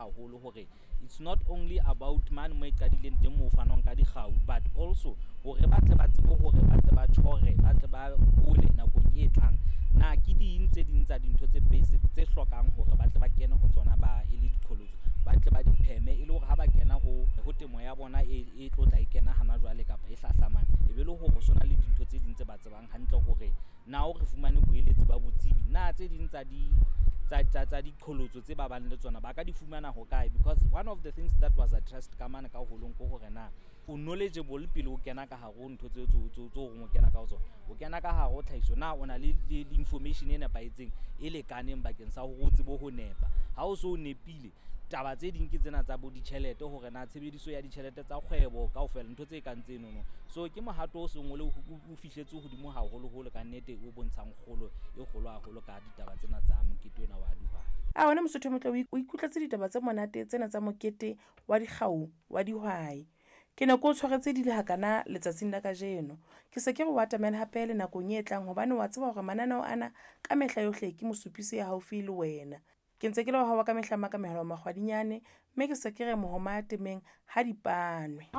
haholo hore it's not only about mane mo e qadileng teng moo ho fanwang ka dikgau, but also hore ba tle ba tsebe hore ba tle ba tjhore, ba tle ba hole nakong e tlang. Na ke ding tse ding tsa dintho tse basic tse hlokang hore ba tle ba kene ho tsona ba e le diqholotso, ba tle ba di pheme e le hore ha ba kena ho temo ya bona e tlo tla e kena hana jwale kapa e hlahlamang, e be le hore ho so na le dintho tse ding tse ba tsebang hantle hore na o re fumane boeletsi ba botsebi. Na tse ding tsa di tsa diqholotso tse ba bang le tsona ba ka di fumana hokae? Because one of the things that was addressed ka mane ka holong ke hore na o knowledgeable pele o kena ka hare ho ntho tseo tse o reng o kena ka ho tsona. O kena ka hare ho tlhahiso, na o na le information e nepahetseng e lekaneng bakeng sa hore o tsebe ho nepa. Ha o so o nepile, taba tse ding ke tsena tsa bo ditjhelete hore na tshebediso ya ditjhelete tsa kgwebo kaofela, ntho tse kang tsenono. So ke mohato o seng o le o fihletse hodimo haholoholo kannete, o bontshang kgolo e kgolo haholo ka ditaba tsena tsa mokete ona wa dihwai. A wena Mosotho o motle, o ikutlwetse ditaba tse monate tsena tsa mokete wa dikgau wa dihwai. Ke ne ke o tshwaretse di le hakana letsatsing la kajeno. Ke se ke re o atamele hape le nakong e tlang hobane wa tseba hore mananeo ana ka mehla yohle ke mosupisi ya haufi le wena. Ke ntse ke le wa hao wa ka mehla Makamohelo Makgwadinyane, mme ke se ke re mohoma temeng ha dipanwe.